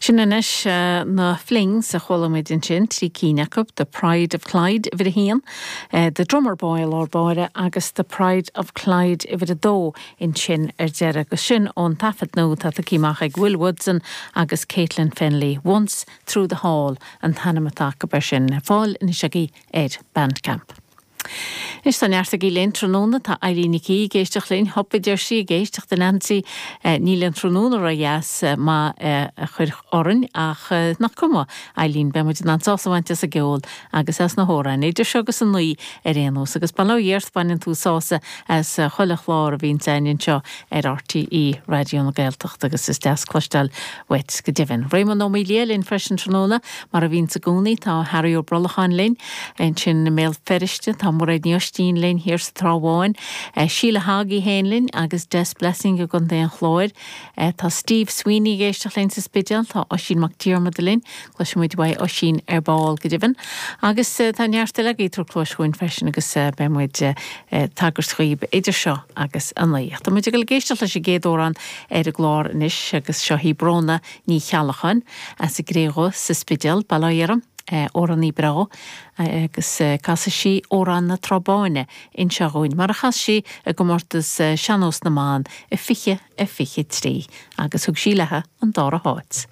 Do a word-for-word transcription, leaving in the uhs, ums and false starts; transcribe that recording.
Sin anois na Flings a chuala muid ansin trí cinn acu, The Pride of Clyde uimhir a haon, The Drummer Boy i lár báire agus The Pride of Clyde uimhir a dó ansin ar deireadh agus sin ón taifead nua atá tugtha amach ag Will Woodson agus Caitlin Fennelly Once Through the Hall an t-ainm atá acu air sin fáil anois agaibh ar Bandcamp. Is tá neart agaibh linn tráthnóna tá Eileen Nic ag éisteacht linn hop idir sí ag éisteacht den Nancy níl an tráthnóna ródheas má a chur orainn ach nach cuma Eileen beidh muid in ann sásamh a bhaint as an gceol agus as na hamhráin idir seo agus a naoi ar aon nós agus bail ó Dhia ort baineann tú sásamh as chuile chlár a bhíonn againn anseo ar RTÉ Raidió na Gaeltachta agus is deas cloisteáil uait go deimhin. Réamonn Ó Maoildhia linn freisin tráthnóna mar a bhíonn i gcónaí tá Harry Ó Brolacháin linn ansin i mBéal Feirste tá Muiréad Ní Oistín linn thiar sa Trá Bháin, Síle Hagi héin linn agus Des Blessing i gContae an Chláir. Tá Steve Sweeney ag éisteacht linn sa Spidéal, tá Oisín Mac Diarmada linn, cloisfimid uaidh Oisín ar ball go deimhin. Agus tá neart eile agaibh ag tabhairt cluas chugainn freisin agus beidh muid tagairt dhaoib idir seo agus a naoi. Tá muid ag ag éisteacht leis an gcéad amhrán ar an gclár anois agus seo í Bróna Ní Cheallacháin as an gCré Dhubh sa Spidéal, Bail ó Dhia uirthi. Amhránaí breá agus casfaidh sí Amhrán na Trá Báine anseo dhúinn, mar a chas sí i gcomórtas Sean-Nós na mBan i fiche a fiche trí agus thug sí léi an dara háit.